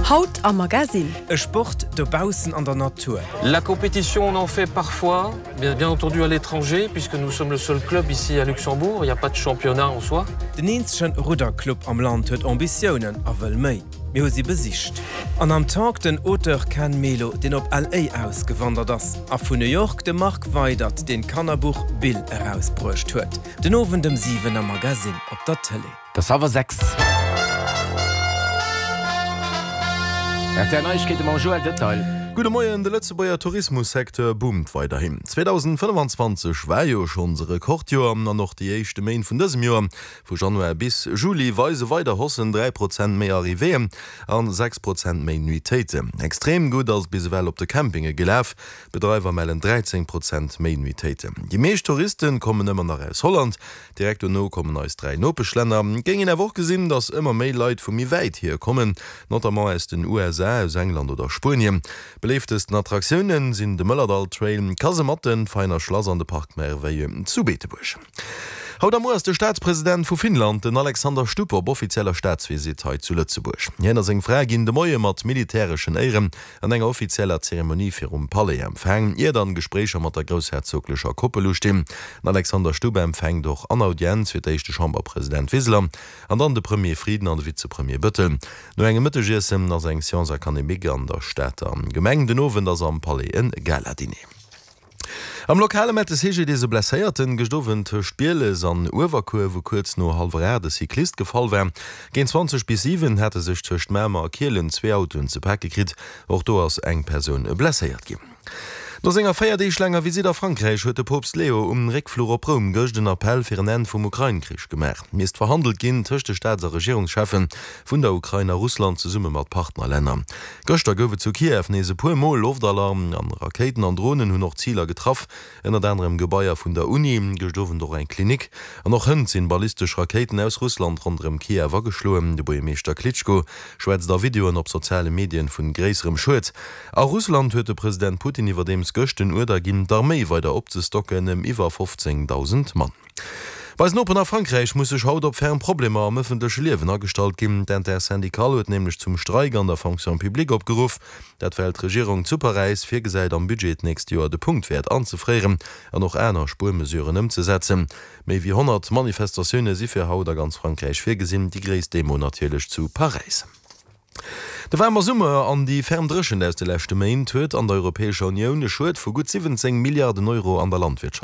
Haut am Magasinn. E Sport dobaussen an der Natur. La compétition on en fait parfois, bien, bien entendu à l'étranger, puisque nous sommes le seul club ici à Luxembourg, il n'y a pas de championnat en soi. Den eenzegen Rudderclub am Land huet Ambitiounen a wëll méi. Mir hu si besicht. An am Talk den Auteur Ken Melo, deen op LA ausgewandert ass, a vun New York de Marc Weydert, deen d'Kannerbuch Bill erausbruecht huet. Den Owend ëm 7 am Magasinn op der Tëlee. Et ass hallwer 6. Rtl Neiegkeete mam Joël Detail. Gudde Moien, De Lëtzebuerger Tourismussecteur boomt weiderhin. 2025 war jo schonns e Rekordjoer an och déi éischte Méint vun dësem Joer, vu Januar bis Juli, weise weider Haussen, 3 Prozent méi Arrivéeën an 6 Prozent méi Nuitéiten. Extrem gutt ass et bis ewell op de Campinge gelaf, D'Bedreiwer mellen 13 Prozent méi Nuitéiten. Déi meescht Touriste kommen ëmmer nach aus Holland. Direkt dono kommen eis 3 Nopeschlänner. Et géing een awer och gesinn, datt ëmmer méi Leit vu méi wäit hier kommen, notamment aus den USA, aus England oder Spuenien. Beléiftesten Attraktioune sinn de Mëllerdall Trail, d'Kasematten, d'Veiner Schlass an de Parc Merveilleux zu Beetebuerg. Haut a muer ass de Staatspresident vu Finnland, den Alexander Stubb, op offizieller Staatsvisitt hei zu Lëtzebuerg. Hien a seng Fra ginn de Moie mat militäreschen Éieren an enger offizieller Zeremonie virum Palais empfaang, ier dann Gespréicher mat der groussherzoglecher Koppel ustinn. Den Alexander Stubb empfänkt och an Audienz fir d'éischt de Chamberpresident Wiseler an dann de Premier Frieden an de Vizepremier Bëttel. No engem Mëttegiessen ass eng Séance académique an der Stater Gemeng. Den Owend ass am Palais en Gala-Dîner. Am Lokale mellt de CGDIS e Blesséierten gëscht Owend tëscht Bieles an Uewerkuer, wou kuerz no hallwer 8 e Cyclist gefall war. Géint 20 bis 7 hate sech tëscht Mamer a Kielen zwee Autoen ze pake kritt. Och do ass eng Persoun blesséiert ginn. No senger 4 Deeg laanger Visitt a Frankräich huet de Poopst Leo um Réckfluch op Roum gëscht en Appell fir en Enn vum Ukrain-Krich gemaach. Misst verhandelt ginn tëscht de Staats a Regierungscheffen vun der Ukrain a Russland zesumme mat Partnerlänner. Gëschter gouf et zu Kiew nees e puer Mol Loftalarm an Rakéiten an Dronen hunn och Ziler getraff, ënnert anerem Gebaier vun der Uni, gëscht Owend och eng Klinik. An och hënt sinn ballistesch Rakéiten aus Russland ronderëm Kiew ageschloen. De Buergermeeschter Klitschko schwätzt a Videoen op soziale Medien vun gréisserem Schued. A Russland huet de President Putin iwwerdeems gëscht den Uerder ginn, d'Arméi weider opzestocken ëm iwwer 15.000 Mann. Bei eisen Noperen a Frankräich muss sech haut op ferm Problemer am ëffentleche Liewen agestallt ginn. D'Intersyndicale huet nämlech zum Streik an der Fonction publique opgeruff. Dat well d'Regierung zu Paräis virgesäit am Budget d'nächst Joer de Punktwäert anzefréieren an och aner Spuermesuren ëmzesetzen. Méi wéi 100 Manifestatioune si fir haut a ganz Frankräich virgesinn, déi gréisst Demo natierlech zu Paräis. De waarme Summer an déi ferm Dréchent aus de leschte Méint huet an der Europäescher Unioun e Schued vu gutt 17 Milliarden Euro an der Landwirtschaft.